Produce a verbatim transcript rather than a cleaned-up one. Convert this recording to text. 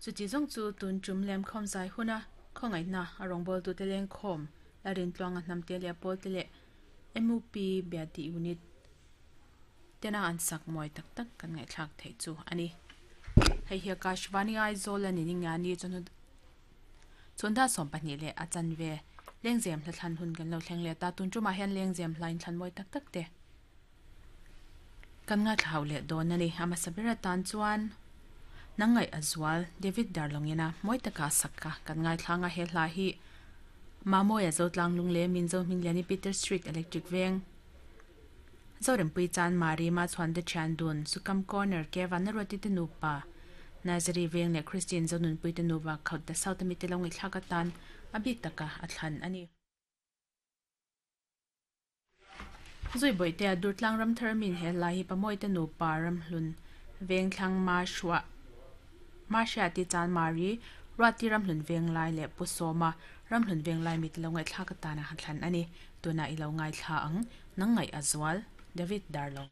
Chu ti zong chu tun tum lem khom zai huna khongai na arong bol tu te leng khom larin tluanga hnam te le pol te le M U P Biati unit tena an sak moi tak tak kan ngai thlak thei chu ani. Hei hi Akashvani Aizawl ani ninga ni chun chunda som pahnih le achan ve lengzem hla thlan hun kan lo thleng le ta tun tuma hian lengzem hlain thlan moi tak tak te kan nga thlau le don ani. Ama sabira tan chuan nangai azwal David Darlongina moi taka sakka kan ngai thlanga he hla hi mamoya zotlang lungle minzo mingliani Peter Street Electric Veng Zorem pui chan mari ma chuan de chan dun sukam corner ke vanaroti te nupa Nazari Veng le Christian zonun pui te nuwa khaut da south mi te longi thlaka tan abik taka athlan ani. Zui boi te durtlang ram thermin he lai hi pamoi te nupa ram hlun veng thlang ma shwa ma sha ti chan mari rati ram hlun veng lai le pusoma ram hlun veng lai mi te longai thlaka tana athlan ani. Tuna ilo ngai thla ang nangai azwal David Darlong.